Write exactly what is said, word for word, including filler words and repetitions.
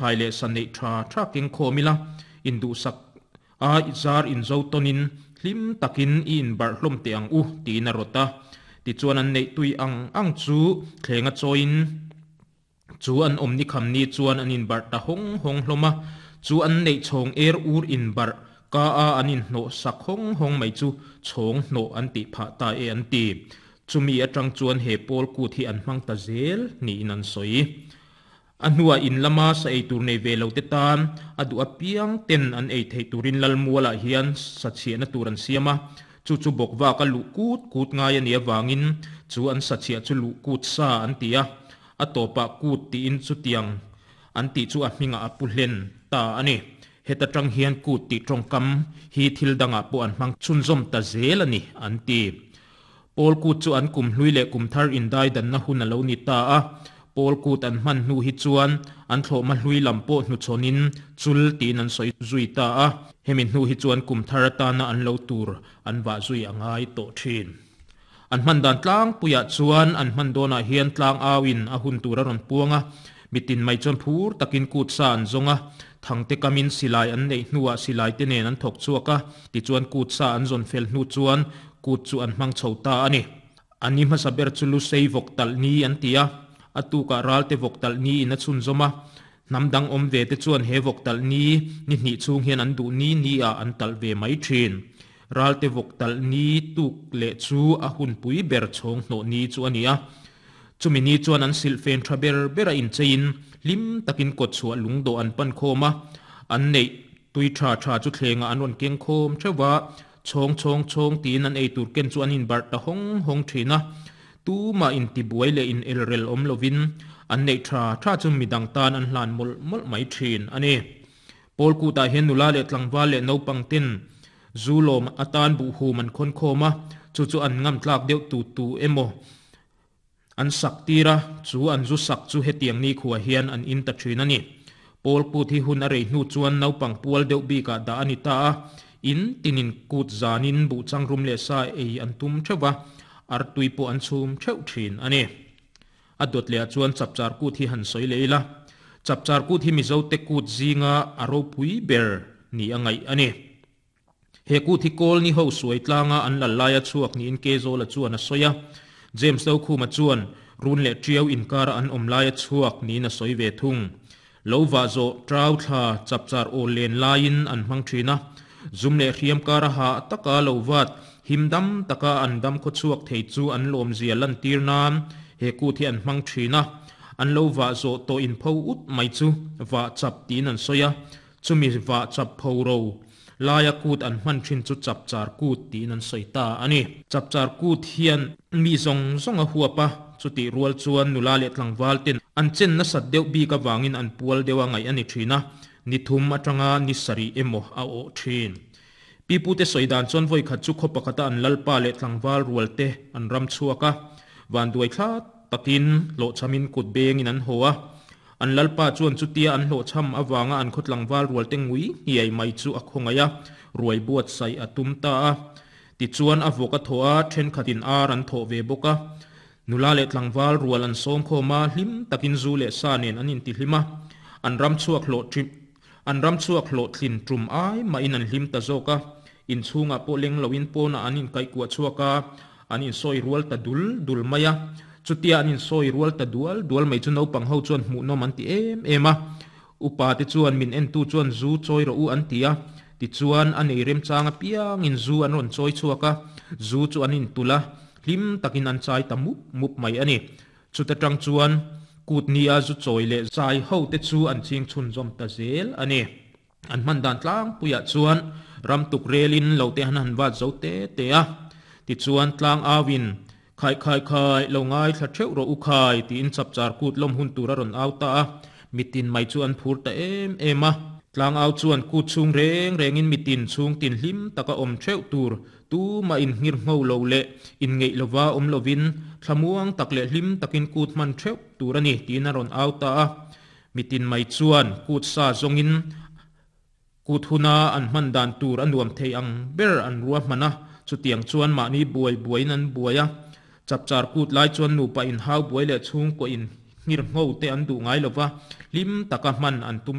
Hai le san nei tha tha keng khomila in du sak a zar in zo tonin hlim takin in bar hlom te ang u ti na rota ti chuan an nei tui ang ang chu thlenga choin chu an omni kham ni chuan an in bar ta hong hong hloma chu an nei chhong er ur in bar ka a an in hno sak hong hong mai chu chhong hno an ti pha ta e an ti chumi atang chuan he pol ku thi an hmang ta zel ni in an soi anua in lama sa ei tur nei ve lo te tan adu apiang ten an ei thei turin lalmuala hian sa chhiana tur an siama chu chu bokwa ka lu kut kut ngai ani awangin chu an sa chhia chu lu kut sa an tia atopa kut ti in chu tiang an ti chu a hminga apu hlen ta ani heta tang hian kut ti tongkam hi thil danga po an hmang chunzom ta zel ani an ti pol kut chu an kum hlui le kum thar in dai dan na hun alo ni ta a pol kut an man nu hi chuan an thlo ma hlui lam po hnu chonin chul tin an soi zui ta a hemin hnu hi chuan kum thar ta na an lo tur an wa zui angai to thin an man dan tlang puya chuan an man dona hian tlang awin a hun tur a ron puanga mitin mai chuan phur takin kut sa an zonga thangte kamin silai an nei hnuwa silai te nen an thok chuaka ti chuan kut sa an zon fel hnu chuan kut chu an hmang chhota ani ani ma saber chulu sei vok tal ni an tia atuka ralte voktal ni in a chun zoma namdang om ve te chuan he voktal ni ni ni chung hian an du ni ni a an tal ve mai thin ralte voktal ni tuk le chu a hun pui ber chhong hno ni chu ania chumi ni chuan an silfen thaber bera in chein lim takin kot chua lungdo an pan khoma an nei tui tha tha chu thlenga an ron keng khom thewa chhong chhong chhong tin an ei tur ken chu an in bar ta hong hong thina tu ma in ti buai le in elrel om lovin an nei tha tha chu midang tan an hlan mol mol mai thin ani pol ku ta hen nula le tlangwal le no pangtin zulom atan bu hu man khon khoma chu chu an ngam tlak deuh tu tu emo an sak tira chu an zu sak chu hetiang ni khuwa hian an in ta thin ani pol ku thi hun a rei hnu chuan no pang pual deuh bi ka da ani ta in tinin kut zanin bu chang rum le sa ei an tum thewa ar tui po an chhum theu thin ani adot le chuan chapchar ku thi han soi leila chapchar ku thi mizo te kut zinga aro pui ber ni angai ani he ku thi kol ni ho suai tlanga an la laia chuak ni in ke zola chuan a soya James lo khuma chuan run le triau in kar an om laia chuak ni na soi ve thung lo wa zo trau thla chapchar o len lain an hmang thina zum le hriam kar ha taka lo wat himdam taka andam kho chuak thei chu an lom zia lan tir nan he ku thi an hmang thina an lo wa zo to in pho ut mai chu wa chap tin an soya chumi wa chap pho ro laya kut an hman thin chu chap char kut tin an soita ani chap char kut hian mi zong zong a huapa chuti rual chuan nula le tlangwal ten an chen na sat deuh bi ka wangin an pual dewa ngai ani thina ni thum atanga ni sari emo a o thin pipu te soidan chon voi khat chu khopakata an lalpa le tlangwal rual te an ram chuaka wan duai thla takin lo chamin kut beng in an hoa an lalpa chuan chutia an hlo cham awanga an khotlangwal rual te ngui hiai mai chu a khongaya ruai buat sai atum ta a ti chuan a voka thoa then khatin ar an tho ve boka nula le tlangwal rual an som khoma hlim takin zu le sa nen an in ti hlima an ram chuak hlo trip an ram chuak hlo thlin tum ai ma in an hlim ta zoka in chunga po leng lo in pona an in kai kwa chuaka an in soi rual ta dul dul maya chutia an in soi rual ta dual dual mai chu no pang ho chuan hmu no man ti em ema upa te chuan min en tu chuan zu choi ro u an tia ti chuan an ei rem changa piang in zu an ron choi chuaka zu chu an in tula hlim takin an chai ta mup mup mai ani chuta tang chuan kut nia zu choi le zai ho te chu an ching chun zom ta zel ani an man dan tlang puya chuan ram tuk relin lo te han han wat zo te te a ti chuan tlang awin khai khai khai lo ngai thla theu ro u khai ti in chapchar kut lom hun tura ron auta a mitin mai chu an phur ta em em a tlang au chuan kut chung reng rengin mitin chung tin hlim taka om theu tur tu ma in ngir ngho lo le in ngei lova om lovin thlamuang tak le hlim takin kut man theu tur ani tin a ron auta a mitin mai chuan kut sa zongin kut huna an man dan tur anuam thei ang ber an ruwa mana chutiang chuan mahni buai buai nan buaya chapchar kut lai chuan nupa in hau buai le chung ko in Nghirngho te an duh ngai lova, hlim taka hman an tum